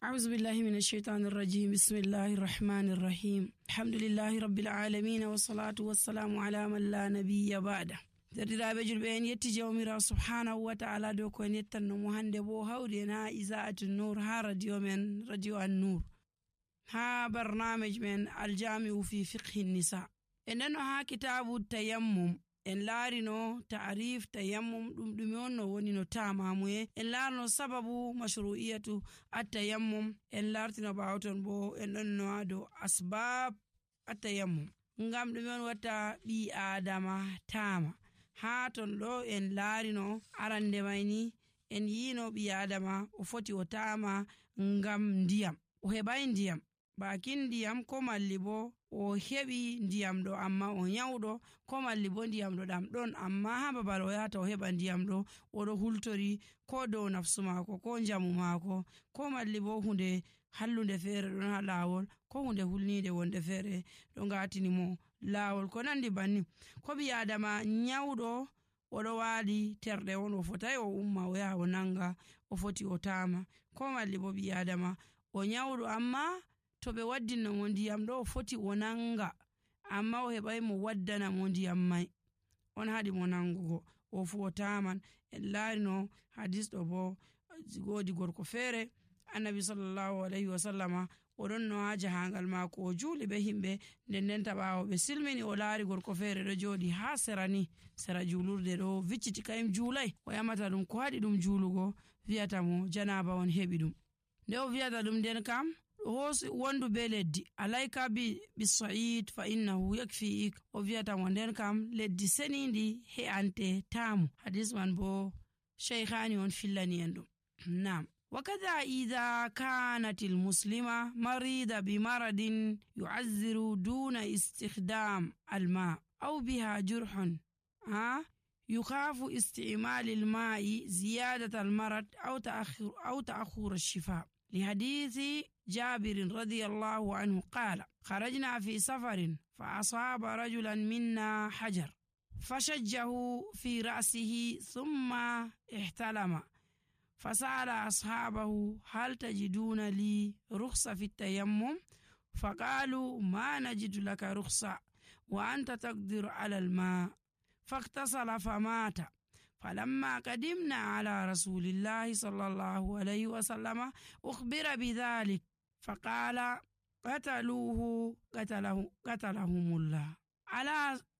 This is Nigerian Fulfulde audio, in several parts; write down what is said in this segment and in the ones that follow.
أعوذ بالله من الشيطان الرجيم بسم الله الرحمن الرحيم الحمد لله رب العالمين والصلاة والسلام على من لا نبي بعده. Derdiraaɓe julɓe en yetti jawmirawo subhanahu wa ta'ala dow ko en yettanno mo hande bo hawri en ha isa'atu nur ha radio men radio an nur ha barnamij men aljami'u fi fiqhi nisa. En nano ha kitabu tayammum en laarino ta'rif tayammum ɗume on no woni no tamamuye, en laarno sababu mashru'iyatu at-tayammum, en lartino ɓawo ton bo en ɗon no ha dow asbab at-tayammum, ngam ɗume on watta ɓi adama tama. Ha ton ɗo en laarino arande mayni en yino ɓi adama o foti o tama ngam ndiyam, o heɓai ndiyam, bakin ndiyam ko malli bo o heɓi ndiyam ɗo amma o nyawɗo, ko malli bo ndiyam ɗo ɗam ɗon amma ha babal o yahata o heɓa ndiyam ɗo oɗo hultori ko dow nafsu mako ko njamu mako, ko malli bo hunde hallunde feere ɗon ha lawol, ko hunde hulnide wonde feere ɗo ngatini mo lawol ko nandi bannin. Ko ɓi adama nyawɗo oɗo waali terɗe on o fotai o umma o yaha o nanga, o foti o tama. Ko malli bo ɓi adama o nyawɗo amma to ɓe waddinno mo ndiyam ɗo o foti o nanga amma o heɓai mo waddana mo ndiyam mai, on haɗi mo nangugo, o fu o taman. En laarino hadis ɗo bo wodi gorko feere annabi sallallahu alaihi wasallama oɗon no ha jahangal mako o juuli be himɓe, nden ɓawo ɓe silmini o laari gorko feere ɗo joɗi ha sera julurde ɗo vicciti kayim juulai, o yamata ɗum ko haɗi ɗum juulugo, wiyata mo janaba on heɓi ɗum. Nde o wiyata ɗum nden kam hoosi wondu be leddi, alayka bisa'id fa innahu yakfi'ik, o wiyata mo nden kam leddi senindi he'ante tamu. Hadis man bo shaykhani on fillani en ɗum. Nam وكذا إذا كانت المسلمة مريضة بمرض يعذر دون استخدام الماء أو بها جرح يخاف استعمال الماء زيادة المرض أو تأخر الشفاء، لحديث جابر رضي الله عنه قال: خرجنا في سفر فأصاب رجلا منا حجر فشجه في رأسه ثم احتلم، فسأل أصحابه: هل تجدون لي رخصة في التيمم؟ فقالوا: ما نجد لك رخصة وأنت تقدر على الماء، فاغتسل فمات. فلما قدمنا على رسول الله صلى الله عليه وسلم أخبر بذلك فقال: قتلوه قتلهم الله.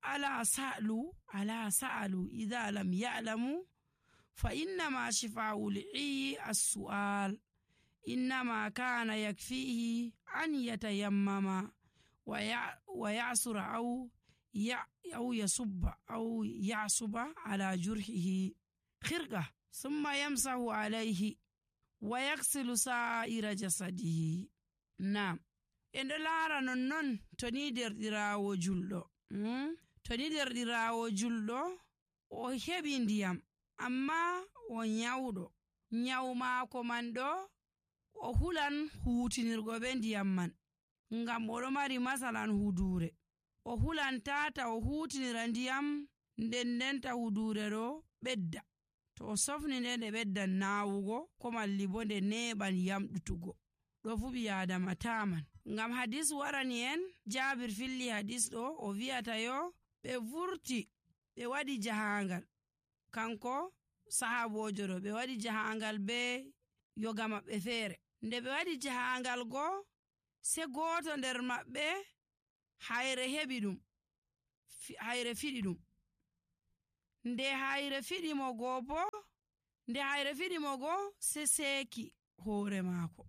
ألا سألوا إذا لم يعلموا، فإنما شفاء العي السؤال، إنما كان يكفيه أن يتيمم ويعصر أو يعصب على جرحه خرقة ثم يمسح عليه ويغسل سائر جسده. نعم، en ɗo laara nonnon to ni derɗirawo julɗo o heɓi ndiyam amma o nyawɗo, nyawu maako man ɗo o hulan huutinirgo be ndiyam man ngam oɗo mari masalan hudure, o hulan tata o huutinira ndiyam ndenta hudure ɗo ɓedda, to o sofni nde ɓeddan nawugo ko malli bo nde neɓan yamɗutugo, ɗo fu ɓi adama taman. Ngam hadis warani en, Jabir filli hadis ɗo o wiyata yo ɓe vurti ɓe waɗi jahangal, kanko sahabojo ɗo ɓe waɗi jahangal be yoga maɓɓe feere. Nde ɓe waɗi jahangal go se goto nder maɓɓe hayre heɓi ɗum, hayre fiɗi ɗum. Nde hayre fiɗi mo go se seki hoore maako,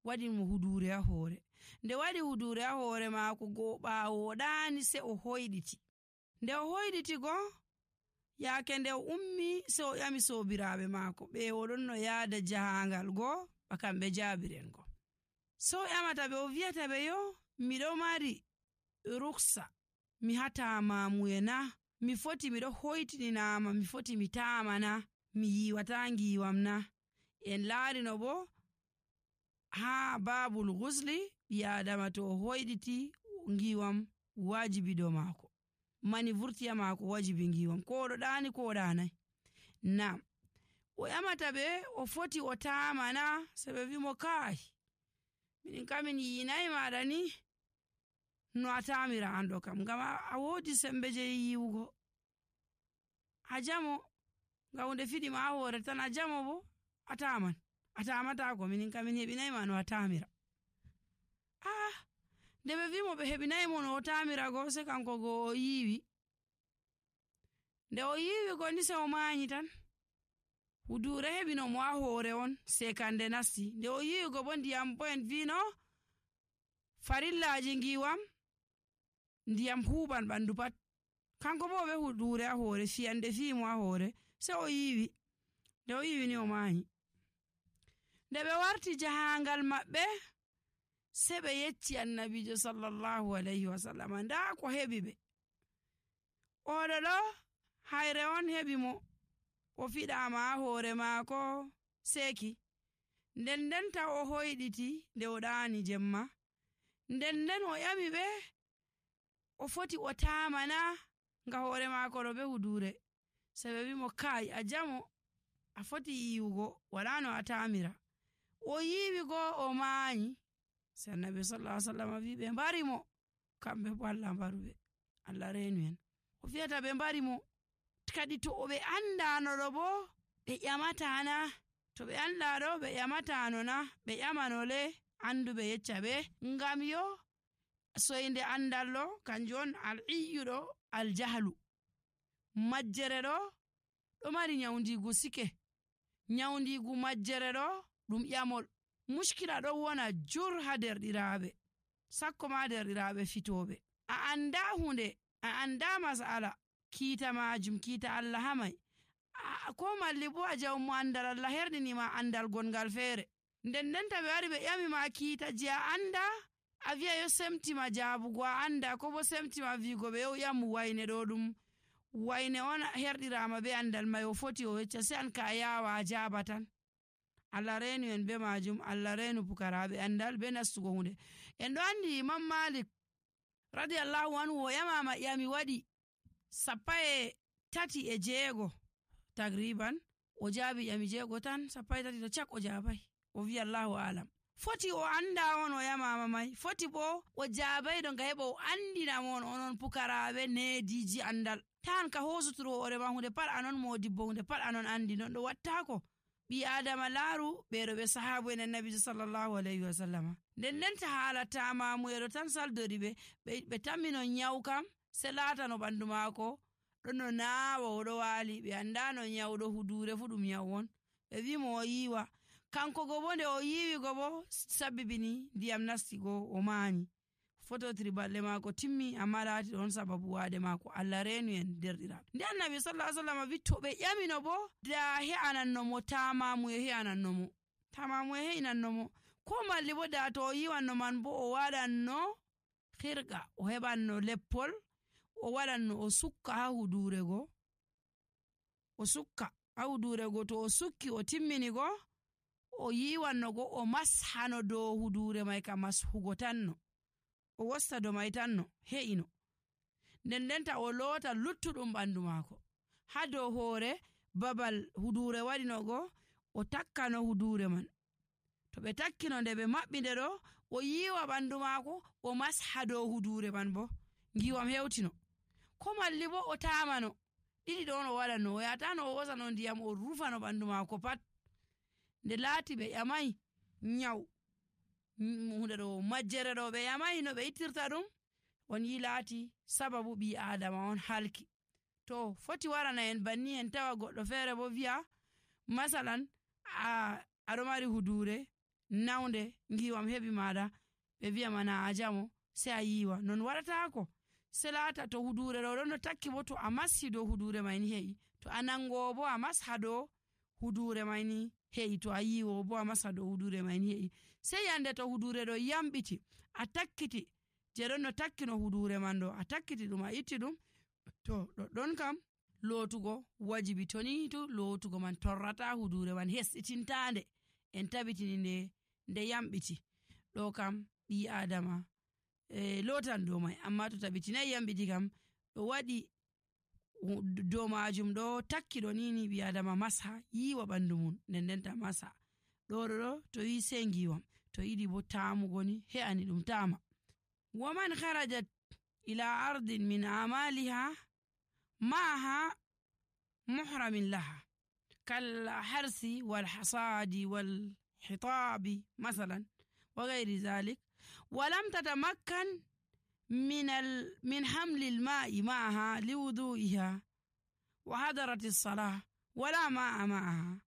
waɗi mo hudure ha hoore. Nde waɗi hudure ha hoore maako go ɓawo ɗani se o hoyɗiti. Nde o hoyɗiti go yaake nde o ummi se o ƴami sobiraɓe maako ɓe oɗon no yaada jahangal go ba kamɓe Jabiren go, so o ƴamata ɓe o wiyata ɓe yo miɗo mari ruksa mi hatamamuye na, mi foti miɗo hoytininama, mi foti mi tamana, mi yiwata ngiwam na. En laarino bo ha babul gusli ɓi adama to o hoyɗiti ngiwam wajibi do maako, mani vurtiya maako wajibi ngiwam, ko oɗo ɗani ko o ɗanai. Nam o ƴamata ɓe o foti o tamana, se ɓe wimo kai min kamin yinayi maɗa ni no a tamira an ɗo kam, ngam a wodi sembe je yiwugo. A jamo ngam hunde fiɗi ma ha hore tan, a jamo bo a taman, a tamatako. Minin kamin heɓinayi ma no a tamira. Nde ɓe wimo ɓe heɓinayi mo no o tamira go, se kanko go o yiwi. Nde o yiwi go ni se o mayi tan. Hudure heɓino mo ha hore on sekande nasti. Nde o yiwi go bo ndiyam bo en vino farillaji ngiwam ndiyam huɓan ɓandu pat. Kanko bo ɓe hudure ha hore, fiyande fimo ha hore, se o yiwi. Nde o yiwi ni o mayi. Nde ɓe warti jahangal maɓɓe, se ɓe yecci annabijo sallallahu alaihi wasallam nda ko heɓi ɓe. Oɗo ɗo hayre on heɓi mo, o fiɗama ha hore maako seki. Nden ndenta o hoyɗiti nde o ɗani jemma. Nden nden o ƴami ɓe o foti o tamana nga hore maako ɗo be hudure. Se ɓe wimo kai a jamo, a foti yiwugo, wala no a tamira. O yiwi go o mayi. Se annabi sallallahu alaihi wasallam wi ɓe mbari mo, kamɓe bo Allah mbaruɓe, Allah renu en. O fiyata ɓe mbari mo, kadi to ɓe andano ɗo bo ɓe ƴamatana, to ɓe anda ɗo ɓe ƴamatano na, ɓe ƴamanole anduɓe yecca ɓe, ngam yo soyde andal ɗo kanjum on al-iyyu ɗo al-jahlu. Majjere ɗo mari nyaundigu sike. Nyaundigu majjere ɗo ɗum ƴamol. Mushkila ɗon wona jur ha derɗiraɓe, sakko ma derɗiraɓe fitoɓe. A anda hunde, a anda masala, kiita majum kiita Allah hamai. Ko malli bo a jawmo andal Allah herɗinima andal gongal feere. Nden ndenta ɓe wari ɓe ƴami ma kiita je a anda, a wi'a yo semtima jabugo a anda, ko bo semtima wigo ɓe yo ƴamu wayne ɗo ɗum wayne on herɗirama be andal mai, o foti o yecca, se an ka yawa a jaba tan. Allah renu en be majum, Allah renu pukaraɓe andal be nastugo hunde. En ɗo andi Imam Malik radiyallahu anhu o ƴamama ƴami waɗi 13 tagriban, o jaabi ƴami 6 tan, 13 to cak o jabai. O wi Allahu alam. Foti o anda on o ƴamama mai, foti bo o jabai ɗo nga heɓa o andina mon onon pukaraɓe nediji andal. Tan ka hosuturo hore ma hunde pat anon modibbo, hunde pat anon andi, non ɗo wattako. Ɓi adama laaru ɓeɗo ɓe sahabu en annabijo sallallahu alaihi wasallama. Nden ndenta haala tamamuyeɗo tan saldori ɓe tammino nyawu kam, se laatano ɓandu maako ɗon no naawa oɗo waali. Ɓe andano nyawɗo hudure fu ɗum nyawu on. Ɓe wimo o yiwa. Kanko go bo nde o yiwi go bo sabbibini ndiyam nasti go o maani. Fototiri balɗe maako timmi, amma laati ɗon sababu waade maako. Allah renu en derɗiraɓe. Nde annabi sallallahu alaihi wasallam wi to ɓe ƴamino bo da he'ananno mo tamamuye, he'ananno mo tamamuye, he'inanno mo, ko malli bo da to o yiwanno man bo o waɗanno hirga, o heɓanno leppol, o waɗanno o sukka ha hudure go, o sukka ha hudure go. To o sukki o timmini go, o yiwanno go, o mashano dow hudure mai ka mashugo tanno, o wosta do mai tanno, he'ino. Nden ndenta o loota luttuɗum ɓandu maako ha dow hore babal hudure waɗino go, o takkano hudure man. To ɓe takkino, nde ɓe maɓɓinde ɗo, o yiwa ɓandu maako, o masha dow hudure man bo ngiwam hewtino. Ko malli bo o tamano, ɗiɗi ɗon o waɗanno, o yatano o hosano ndiyam o rufano ɓandu maako pat. Nde laati ɓe ƴamai nyaw hunde ɗo majjere ɗo, ɓe ƴamai no ɓe ittirta ɗum, on yi laati sababu ɓi adama on halki. To foti warana en banni, en tawa goɗɗo feere bo wi'a masalan aɗo mari hudure naunde, ngiwam heɓi maɗa, ɓe wi'a mana a jamo, se a yiwa. Non waɗatako. Se laata to hudure ɗo ɗon no takki bo, to a mashi dow hudure mai ni he'i. To a nangowo bo a masha dow hudure mai ni he'i. To a yiwo bo a masha dow hudure mai ni he'i. Se yande to hudure ɗo yamɓiti, a takkiti je ɗon no takkino hudure man ɗo, a takkiti ɗum, a itti ɗum, to ɗoɗɗon kam lootugo wajibi. To ni to lootugo man torrata hudure man, hesɗitintande, en tabitini nde yamɓiti. Ɗo kam ɓi adama lotan dow mai, amma to tabitinayi yamɓiti kam, ɗo waɗi dow majum ɗo takki ɗo nini, ɓi adama masha yiwa ɓandu mum, nden ndenta masha ɗo to yi se ngiwam. to yiɗi bo taamugo ni he'ani ɗum taama. Waman kharajat ila ardin min amaliha ma'aha muhramin laha kal harsi wal hasadi wal hitabi masalan wa ghairi zalik ولم تتمكن من حمل الماء معها لوضوئها وحضرت الصلاة ولا ماء معها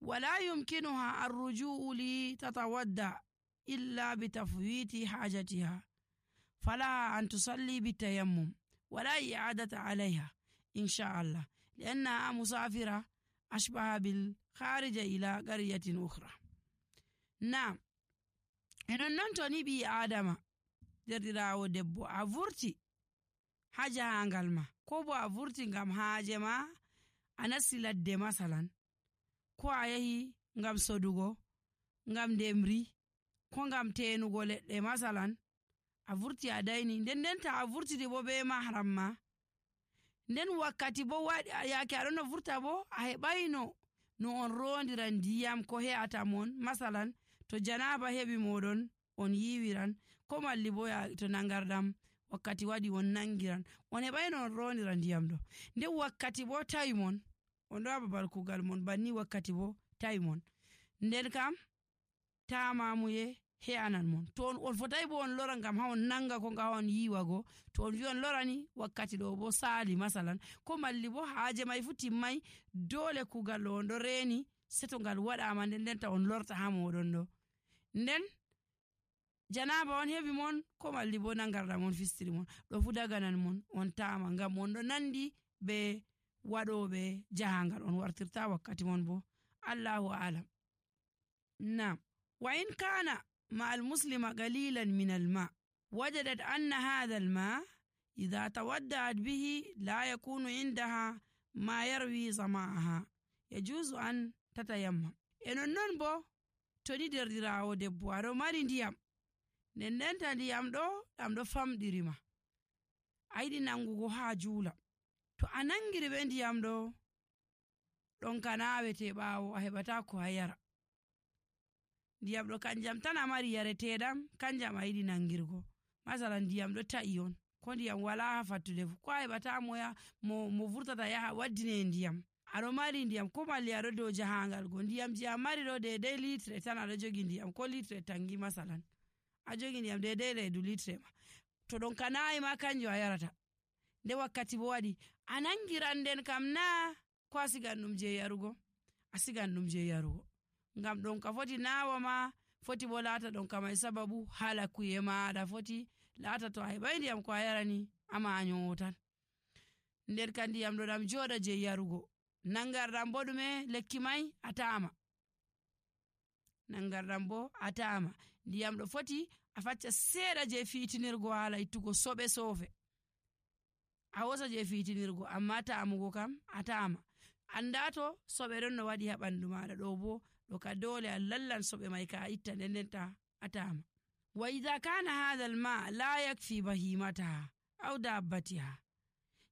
ولا يمكنها الرجوع لتتودع إلا بتفويت حاجتها فلها أن تصلي بالتيمم ولا إعادة عليها إن شاء الله لأنها مسافرة أشبه بالخارج إلى قرية أخرى. نعم enon non to ni ɓi adama derɗirawo debbo a vurti ha jahangal ma ko bo a vurti ngam haaje ma a nasti ladde masalan ko a yahi ngam sodugo ngam ndemri ko ngam tenugo leɗɗe masalan a vurti a dayni nden ta a vurtidi bo be mahram ma nden wakkati bo waɗi yaake aɗon no vurta bo a heɓayno no on rondiran ndiyam ko he'ata mon masalan to janaba heɓi moɗon on yiwiran ko malli bo to nangardam wakkati waɗi on nangiran on heɓayno on ronira ndiyam ɗo nden wakkati bo tawi mon on ɗo babal kugal mon banni wakkati bo tawi mon nden kam tamamuye he'anan mon to on fotai bo on lora ngam ha on nanga ko nga on yiwago to on wi on lorani wakkati ɗo bo sali masalan ko malli bo haaje mai fu timmai dole kugal ɗo on ɗo reni seto ngal waɗama nden ta on lorta ha moɗon ɗo nden janaba on heɓi mon ko malli bo nangarɗam on fistiri mon ɗo fu daganan mon on tama ngam on ɗo nandi be waɗoɓe jahangal on wartirta wakkati mon bo Allahu alam. Nam wa in kana ma al-muslima qalilan min al-ma wajadat anna hadha al-ma idha tawadda'at bihi la yakunu indaha ma yarwi zama'aha yajuzu an tatayammam. Enon non bo to ni derɗirawo debbo aɗo mari ndiyam ndendenta ndiyam ɗo ɗam ɗo famɗirima a yiɗi nangugo ha juula to a nangiri ɓe ndiyam ɗo ɗon ka nawete ɓawo a heɓata ko a yara ndiyam ɗo kanjam tan a mari yareteɗam kanjam a yiɗi nangirgo masalan ndiyam ɗo ta'i on ko ndiyam wala ha fattude fu ko a heɓata mo vurtata yaha waddine ndiyam aɗo mari ndiyam ko malli aɗo dow jahangal go ndiyam je a mari ɗo dedei litre tan aɗo jogi ndiyam ko litre tangi masalan a jogi ndiyam dedei reedu litre ma to ɗon ka nayi ma kanjo a yarata nde wakkati bo waɗi a nangiran nden kam na ko a sigan ɗum je yarugo a sigan ɗum je yarugo ngam ɗon ka foti nawa ma foti bo laata ɗon ka mai sababu hala kuye maɗa foti laata to a heɓai ndiyam ko a yarani ama a nyowo tan nden ka ndiyam ɗo ɗam joɗa je yarugo nangarɗam bo ɗume lekki mai a tama nangarɗam bo a tama ndiyam ɗo foti a facca seeɗa je fitinirgo hala ittugo soɓe sofe a wosa je fitinirgo amma tamugo kam a tama anda to soɓe ɗon no waɗi ha ɓandu maɗa ɗo bo ɗo ka dole a lallan soɓe mai ka a itta ndendenta a tama. Wa idha kana hadha al-ma la yakfi bahimataha aw dabbatiha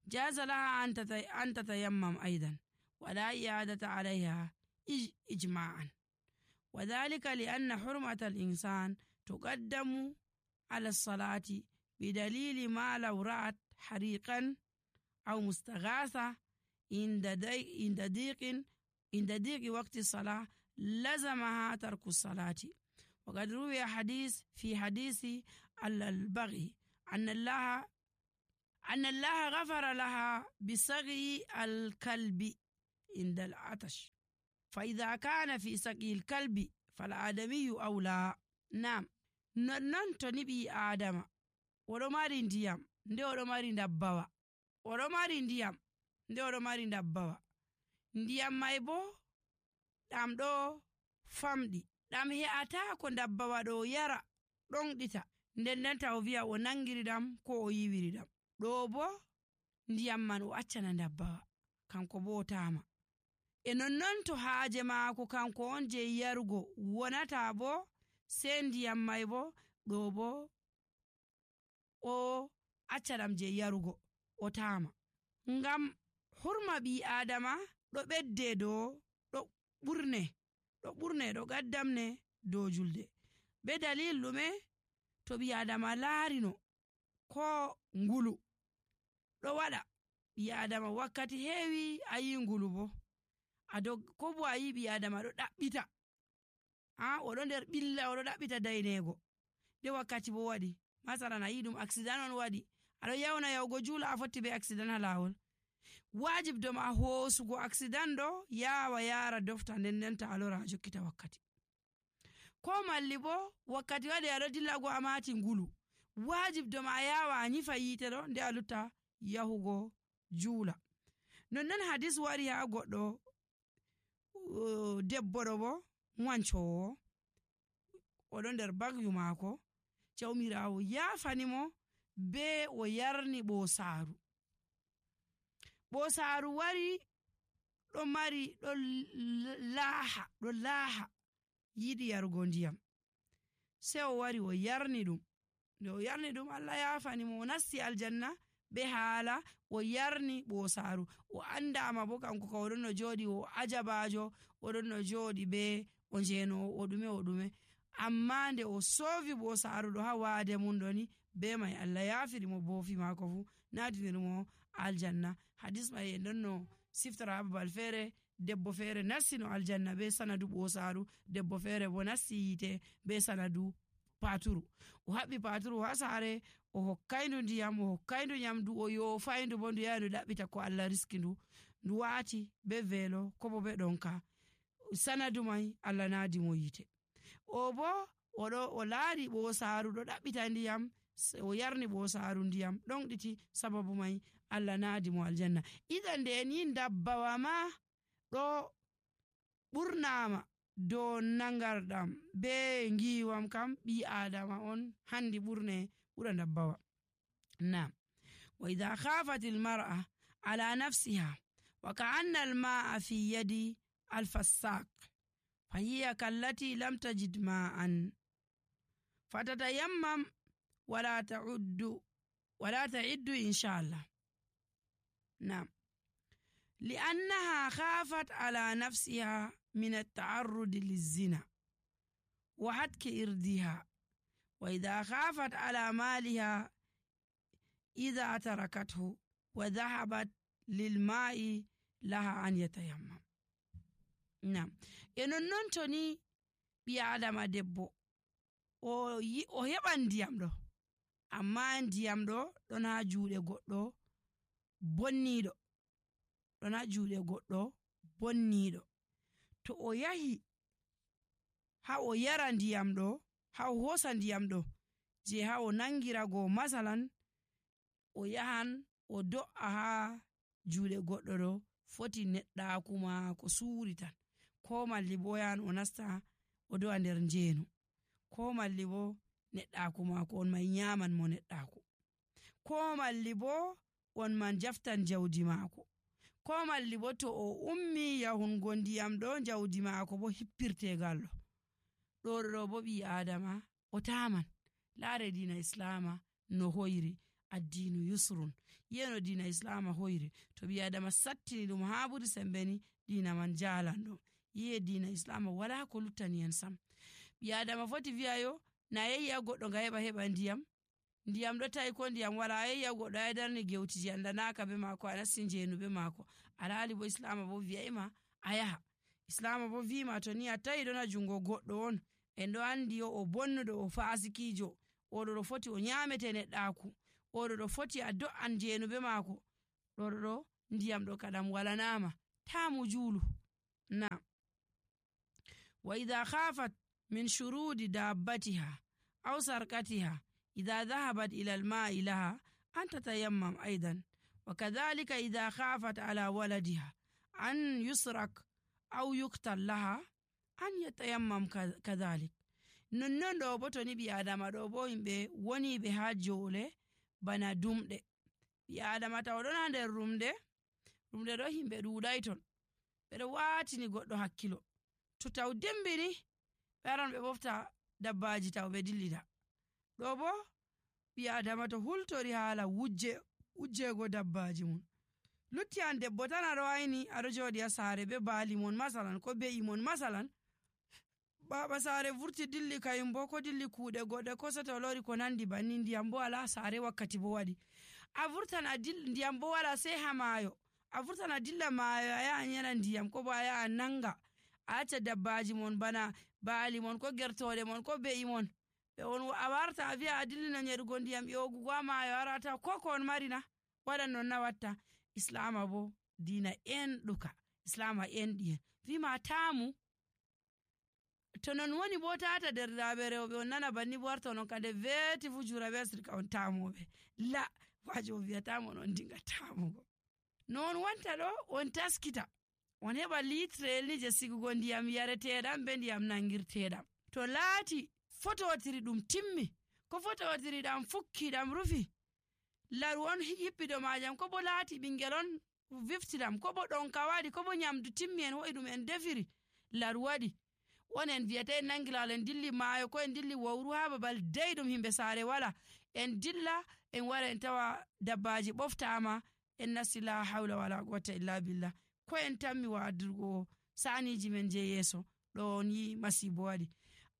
jaza laha an tatayammam aidan ولا إعادة عليها إجماعا وذلك لأن حرمة الإنسان تقدم على الصلاة بدليل ما لو رأت حريقا أو مستغاثة عند ضيق وقت الصلاة لزمها ترك الصلاة. وقد روي حديث في حديث البغي أن الله غفر لها بسقي الكلب عند العطش فإذا كان في سقي الكلب فالآدمي أولى. نعم non to ni ɓi adama oɗo mari ndiyam nde oɗo mari ndabbawa oɗo mari ndiyam nde oɗo mari ndabbawa ndiyam mai bo ɗam ɗo famɗi ɗam he'ata ko ndabbawa ɗo yara ɗonɗita ndendenta o wi'a o nangiri ɗam ko o yiwiri ɗam ɗo bo ndiyam man o accana ndabbawa kanko bo o tama e nonnon to haaje maako kanko on je yarugo wonata bo sei ndiyam mai bo ɗo bo o acca ɗam je yarugo o tama ngam hurma ɓi adama ɗo ɓedde ɗo ɓurne ɗo gaddamne dow julde be dalil ɗume to ɓi adama laarino ko ngulu ɗo waɗa ɓi adama wakkati heewi a yi ngulu bo ko bo a yi ɓi adama ɗo ɗaɓɓita oɗo nder ɓilla oɗo ɗaɓɓita daynego de wakkati bo waɗi masalan a yi ɗum accident on waɗi aɗo yawna yahugo juula a fotti be accident ha lawol wajib doma hoosugo accident ɗo yawa yara dofta ndendenta a lora a jokkita wakkati ko malli bo wakkati waɗi aɗo dilla go a mati ngulu wajib doma a yawa a nyifa yite ɗo nde a lutta yahugo juula nonnon hadis wari ha goɗɗo debbo ɗo bo wancowo oɗo nder bagyu maako jawmirawo yafanimo be o yarni ɓosaaru wari ɗo laaha yiɗi yarugo ndiyam sei o wari o yarni ɗum nde o yarni ɗum Allah yafanimo o nasti aljanna be haala o yarni ɓosaaru o andama bo kanko ka oɗon no joɗi o ajabajo oɗon no joɗi be o njeno o ɗume amma nde o sovi ɓosaaru ɗo ha waade mum ɗoni be mai Allah yafirimo boofi maako fu natinirmo aljanna hadis mai en ɗon no siftara ha babal feere debbo feere nassino aljanna be sanadu ɓosaaru debbo feere bo nasti yite be sanadu paturu o haɓɓi paturu ha saare o hokkayndu ndiyam o hokkayndu nyamdu o yofayndu bo ndu yaha ndu ɗaɓɓita ko Allah riski ndu waati be veelo ko bo be ɗonka sanadu mai Allah naadi mo yite o bo o laari ɓosaaru ɗo ɗaɓɓita ndiyam o yarni ɓosaaru ndiyam ɗon ɗiti sababu mai Allah naadi mo aljanna idan nde en yin dabbawa ma ɗo ɓurnama dow nangarɗam be ngiwam kam ɓi adama on handi ɓura dabbawa nam wa idha khafat almar'a ala nafsiha wa ka'anna alma'a fi yadi alfassaq fahiya kallati lam tajid ma'an fatatayammam wala ta'iddu inshallah nam li'annaha khafat ala nafsiha min at-ta'arrud liz-zina wa hatki irdiha wa idha khafat ala maliha idha tarakathu wa dhahabat lil ma'i laha an yatayammam nam non toni ɓi adama debbo o heɓan ndiyam ɗo amma ndiyam ɗo ɗon ha juuɗe goɗɗo bonniɗo to o yahi ha o yara ndiyam ɗo ha o hosa ndiyam ɗo je ha o nangirago masalan o yahan o do'a ha juuɗe goɗɗo ɗo foti neɗɗaku maako suuri tan ko malli bo yahan o nasta o do'a nder njeenu ko malli bo neɗɗaku maako on man nyaman mo neɗɗaku ko malli bo on man jaftan jawdi maako ko malli bo to o ummi yahungo ndiyam ɗo jawdi maako bo hippirtegal ɗo bo ɓi adama o taman laare dina islama no hoyri addinu yusrun yeno dina islama hoyri to ɓi adama sattini ɗum ha ɓuri sembeni dina man jalan ɗo yi'e dina islama wala ko luttani en sam ɓi adama foti wi'ayo na yeyya goɗɗo nga heɓa ndiyam ɗo tawi ko ndiyam wala yeyya goɗɗo ay darni gewtiji andanaka be maako a nasti njeenu be maako alhali bo islama bo wi'ayma a yaha islama bo wima to ni a tawi ɗon ha jungo goɗɗo on en ɗo andi o bonnuɗo o fasikijo oɗo ɗo foti o nyamete neɗɗaku oɗo ɗo foti a do'an njeenu be maako ɗo ndiyam ɗo kadam walanama tamu juulu na wa idha khafat min shurudi dabbatiha aw sarqatiha idha dhahabat ila al-ma'i laha an tatayammam aidan wa kadhalika idha khafat ala waladiha an yusrak aw yuqtal laha an yatayammam kadhalik nonnon ɗo bo to ni ɓi adama ɗo bo yimɓe woni ɓe ha jole bana dumɗe ɓi adama taw ɗon ha nder rumde ɗo himɓe ɗuɗai ton ɓeɗo watini goɗɗo hakkilo to taw dembini ɓe aran ɓe ɓofta dabbaji taw ɓe dillida ɗo bo ɓi adama to hultori haala wujjego dabbaji mum lutti an debbo tan aɗo wayni aɗo joɗi ha saare be baali mon masalan ko be'i mon masalan baba sare vurti dilli kayum bo ko dilli kuuɗe goɗɗe ko soto lori ko nandi banni ndiyam bo ala sare wakkati bo waɗi a vurtan a dilla ndiyam bo wala sai ha maayo a vurtan a dilla maayo a yaha yana ndiyam ko bo a yaha nanga a acca dabbaji mon bana baali mon ko gertoɗe mon ko be'i mon ɓe on a warta a wi'a a dillino nyeɗugo ndiyam ƴogugo ha maayo arata ko on marina waɗan non na watta islama bo dina enɗuka islama enɗi en wima tamu to non woni bo tata derɗiraɓe rewɓe on nana banni bo warta non kande veeti fu juraɓe asirka on tamoɓe la wajo on wiyatamo on dinga tamugo non wonta ɗo on taskita on heɓa litrel ni je sigugo ndiyam yareteɗam be ndiyam nangirteɗam to laati fototiri ɗum timmi ko fototiri ɗam fukki ɗam rufi laru on yippido majam ko bo laati ɓingel on viftiɗam ko bo ɗonka waɗi ko bo nyamdu timmi en ho'i ɗum en defiri laru waɗi on en wiyata en nangilal en dilli maayo ko en dilli wawru ha babal dayɗum himɓe sare wala en dilla en wara en tawa dabbaji ɓoftama en nasti la hawla wala quwwata illa billah ko en tammi wadirgo saniji men je yeso ɗo on yi masibo waɗi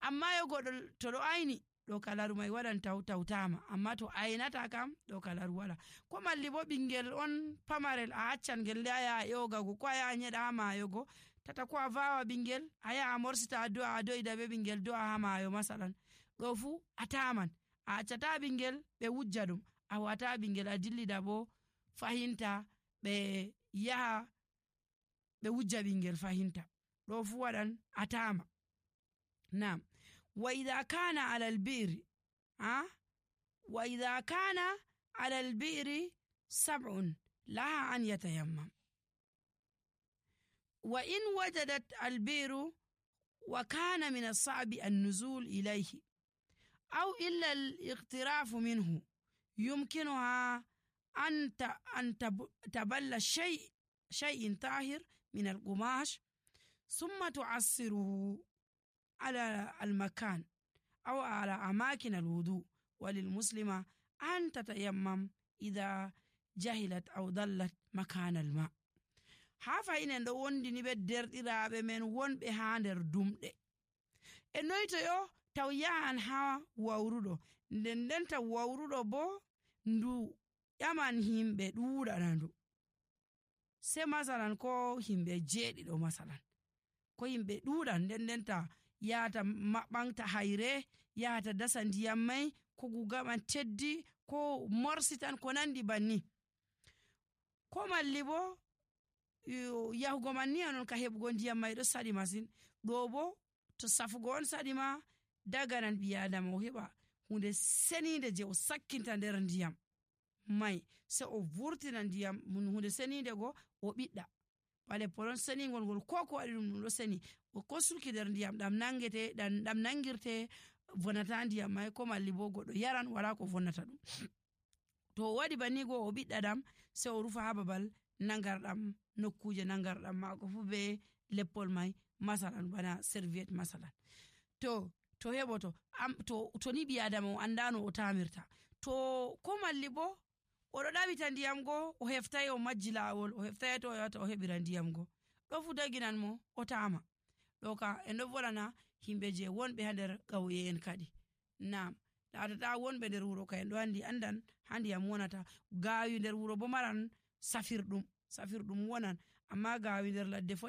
amma yo goɗɗo to ɗo ayni ɗo kalaru mai waɗan tawtama amma to aynata kam ɗo kalaru wala ko malli bo ɓingel on pamarel a accan ngel nde a yaha ƴogago ko a yaha nyeɗa ha maayogo tata ko a vawa ɓingel a yaha morsita a do'a a do'ida be ɓingel do'a ha maayo masalan ɗo fu a taman a accata ɓingel ɓe wujja ɗum a wata ɓingel a dillida bo fahinta ɓe yaha ɓe wujja ɓingel fahinta ɗo fu waɗan a tama nam وإذا كان على البئر وإذا كان على البئر 7 لها أن يتيمم وإن وجدت البئر وكان من الصعب النزول إليه أو إلا الاقتراف منه يمكنها أن تبل شيء طاهر من القماش ثم تعصره على المكان أو على أماكن الوضوء وللمسلمة أن تتيمم إذا جهلت أو ضلت مكان الماء hafa inen ɗo wondini ɓe derɗiraɓe men wonɓe ha nder dumɗe e noyto yo taw yahan ha wawruɗo nden taw wawruɗo bo ndu ƴaman himɓe ɗuɗana ndu se masalan ko himɓe jeeɗiɗo masalan ko himɓe ɗuɗan nden ta yahata maɓɓanta hayre yahata dasa ndiyam mai ko gugaman teddi ko morsitan ko nandi banni ko malli bo yahugo man ni anon ka heɓugo ndiyam mai ɗo saɗi masin ɗo bo to safugo on saɗi ma daganan ɓi adama o heɓa hunde senide je o sakkinta nder ndiyam mai se o vurtina ndiyam hunde senide go o ɓiɗɗa bale polon senigol ngol ko waɗi ɗum ɗo seni ko sulki nder ndiyam ɗam nangirte vonata ndiyam mai ko malli bo goɗɗo yaran wala ko vonnata ɗum to o waɗi banni go o ɓiɗɗa ɗam se o rufa ha babal nangarɗam nokkuje nangarɗam mako fu be leppol mai masalan bana serviette masalan to heɓoto to ni ɓi adama o andano o tamirta to ko malli bo oɗo ɗaɓita ndiyam go o heftai o majji lawol o heftai to o yata o heɓira ndiyam go ɗo fu daginan mo o tama ɗo ka en ɗo volana himɓe je wonɓe ha nder ƙauye en kadi nam latata wonɓe nder wuro ka en ɗo andan ha ndiyam wonata gawi nder wuro bo maran safirɗum wonan amma gawi nder ladde